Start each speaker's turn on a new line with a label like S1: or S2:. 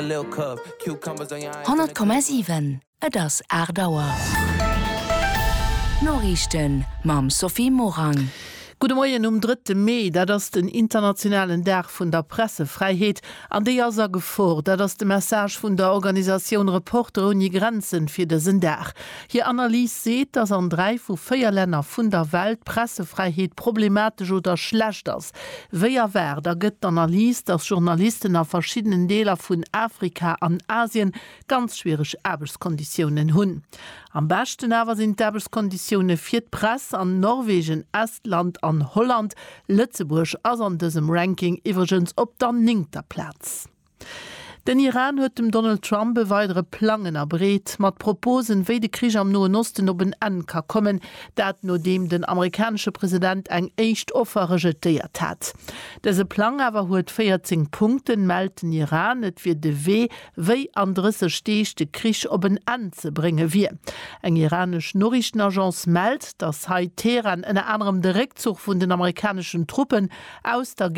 S1: 100,7 Et ass 8 Auer. D'Noriichten mam Sophie Morang.
S2: Gudde Moien um drëtte Mee. Dat ass den internationalen Dag vun der Pressefräiheet. An déi ass a Gefor. Dat ass de Message vun der Organisatioun Reporter ouni Grenzen fir dësen Dag. Hir Analys seet, datt an 3 vu 4 Länner vun der Welt d'Pressefräiheet problematesch oder schlecht ass. Wéi erwaart, ergëtt d'Analys, datt Journalisten a verschiddenen Deeler vun Afrika an Asien ganz schwiereg Aarbechtskonditiounen hunn. Am beschten awer sinn d'Aarbechtskonditioune fir d'Press an Norwegen, Estland an Holland. Lëtzebuerg ass an dësem Ranking iwwregens op der néngter Plaz. Den Iran huet dem Donald Trump e weidere Plang ënnerbreet, mat Proposen, wéi de Krich am Noen Osten op en Enn ka kommen. Dat nodeem den amerikanesche President eng éischt Offer rejetéiert hat. Dëse Plang awer huet 14 Punkten, mellt den Iran. Et wier de Wee, wéi an 30 Deeg de Krich op en Enn ze brénge wier. Eng iranesch Noriichtenagence mellt, datt hei Teheran ënner anerem de Réckzuch vun den amerikaneschen Truppen aus der.